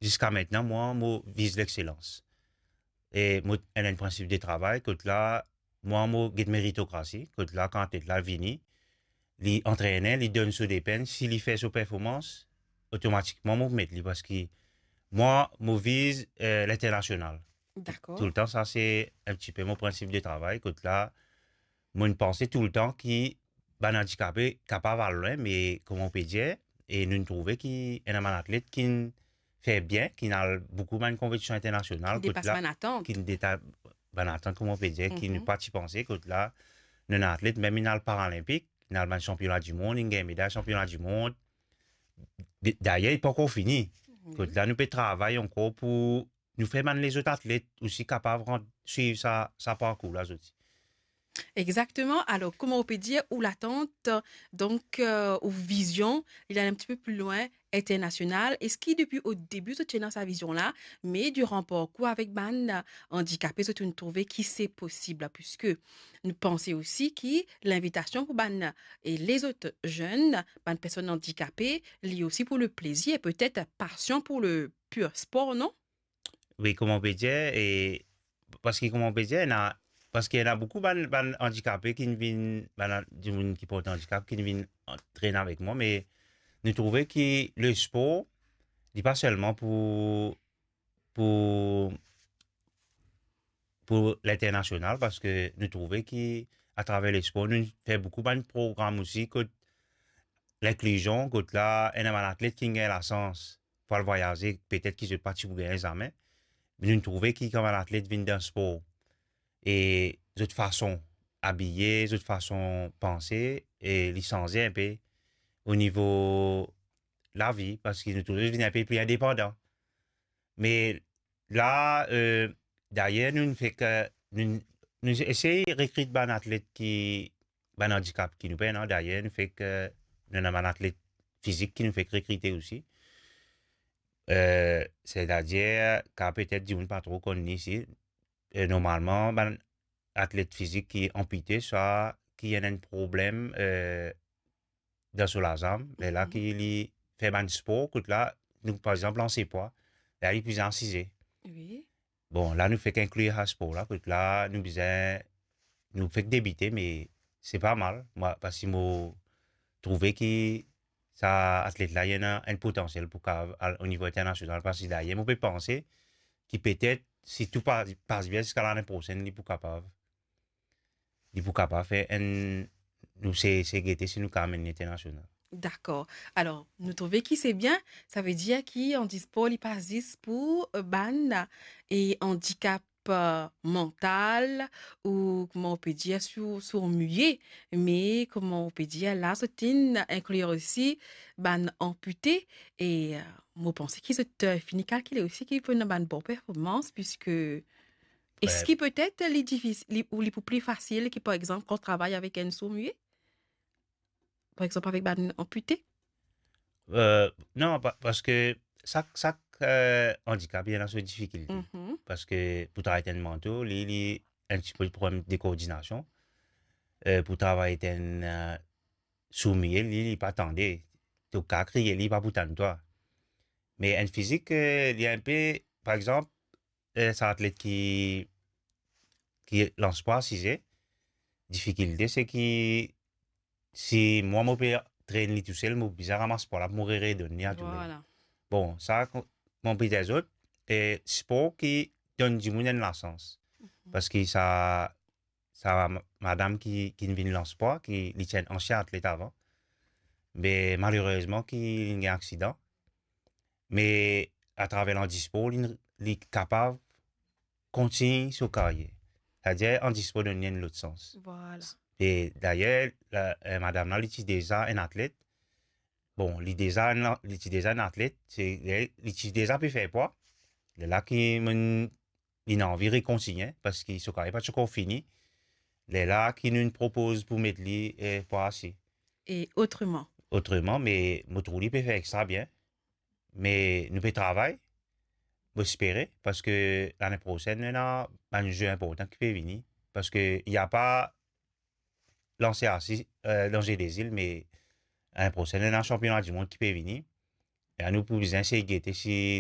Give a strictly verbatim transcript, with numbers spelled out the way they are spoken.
ziska mintnan, mwa, mo viz lexselans. E mo ena enn prinsip de travay, kot la, mwa, mo get meritokrasi, kot la, kan atlet la vini, li antrene, li donn so depenn, si li fer so performans, otomatikman, mo met li, parski mwa, mo viz, eh, linternasional. Dakor. Toultan, sa se enn tipe mo prinsip de travay, kot la, mo panse toultan ki bann andikape kapav al lwin, me kouma ou pe dir, e nou trouve ki ena bann atlet ki fer bien, ki al boukou bann konpetision internasional, ki depas bann atant. Ki depa-, bann atant, kouma ou pe dir, ki nou pa ti panse, kot la, nou ena atlet, mem inn al Paralinpik, inn al bann sanpiona dimond, inn gagn meday sanpiona dimond. De-, dayer, li pankor fini. Kot la, nou pe travay ankor pou nou fer bann lezot atlet osi kapav rant, swiv sa, sa parkour la, zot. Exactement. Alors, kouma ou pe dir, ou latant, donk, euh, ou vizion, li al enn tipe pli lwin, internasional. Eski depi o debi zot ti ena sa vizion la, me diran parkour avek bann andikape, zot inn trouve ki se posib, puiske nou panse osi ki linvitasion pou bann, e lezot zenn, bann personn andikape, li osi pou le plezir, petet pasion pou le pur spor, non? Wi, kouma ou pe dir, e parski kouma ou pe dir, ena, parski ena boukou bann, bann andikape ki vinn, bann an-, dimoun ki port andikap ki vinn antrenn avek mwa, me nou trouve ki le spor, li pa selman pou, pou, pou linternasional, parski nou trouve ki atraver le spor, nou fer boukou bann program osi, kot linklizion, kot la, ena bann atlet ki gagn lasans pou al vwayaze, petet ki zot pa ti pou gagn zame. Me nou trouve ki kan bann atlet vinn dan spor, e zot fason abiye, zot fason panse, e li sanze enpe o nivo lavi, parski nou trouve zot vinn enpe pli indepandan. Me la, eh, dayer, nou fek, nou, nou esey rekrit bann atlet ki, bann andikap ki nou pena, dayer, nou fek, nou ena bann atlet fizik ki nou fek rekrite osi. Eh, setadir, ka petet dimoun pa tro konn li isi, eh, normalman, bann atlet fizik ki anpite, swa ki ena enn problem, eh, dan so lazam, lerla ki li fer bann spor, kot la, nou, par exanp, lanse pwa, la, li bizin asize. Wi. Bon, la, nou fek inklir sa spor la, kot la, nou bizin, nou fek debite, me se pa mal. Mwa, parski mo trouve ki sa atlet la, li ena enn potansiel pou kapav al o nivo internasional, parski dayer, mo pe panse ki petet, si tou pa, pas bien ziska lane prosenn, li pou kapav, li pou kapav fer enn, nou se, se gete si nou kapav amenn li internasional. Dakor. Alor, nou trouve ki se bien, savedir ki andispor, li pa zis pou, eh, bann, e andikap, eh, mantal, ou kouma ou pe dir, sour, sourd-muet, me kouma ou pe dir, la, zot inn inklir osi bann anpite, e, eh, mo panse ki zot, eh, fini kalkile osi ki pou ena bann bon performans, puiske eski petet li difis-, li, ou li pou pli fasil ki, par exanp, kan travay avek enn sourd-muet? Par exanp, avek bann anpite? Eh, non, pa-, parski sak, sak, eh, andikap, li ena so difikilte. Mhm. Parski pou travay ek enn manto, li, li enn tipe problem de koordinasion. Eh, pou travay ek enn, eh, sourd-muet, li, li pa tande. To kapav kriye, li pa pou tann twa. Me enn fizik, eh, li enpe, par exanp, eh, sa atlet ki, ki lans pwa asize, difikilte se ki si mwa mo pe trenn li tousel, mo bizin ramas pwa la pou mo re-, redonn li a toule. Vwala. Bon, sa, ko-, mo pe dir zot, eh, spor ki donn dimoun enn lasans. Mhm. Parski sa, sa ma-, madam ki, ki vinn lans pwa, ki li ti enn ansien atlet avan. Me malerezman ki li gagn aksidan. Me atraver landispor, li, li kapav kontign so karyer. Setadir, andispor donn li enn lot sans. Vwala. E dayer, la, eh, madam la, li ti deza enn atlet. Bon, li deza enn, li ti deza enn atlet, se, li, li ti deza pe fer pwa. Lerla ki mo, li ena anvi rekontigne, parski so karyer pa ti ankor fini. Lerla ki nou propoz pou met li, eh, pwa ase. E otreman? Otreman, me mo trouv li pe fer extra bien. Me nou pe travay, mo espere, parski lane prosenn, ena bann ze inportan ki pe vini. Parski li pa lanse asi, eh, dan Jeux des Îles, me lane prosenn, ena sanpiona dimond ki pe vini. E nou pou bizin sey gete si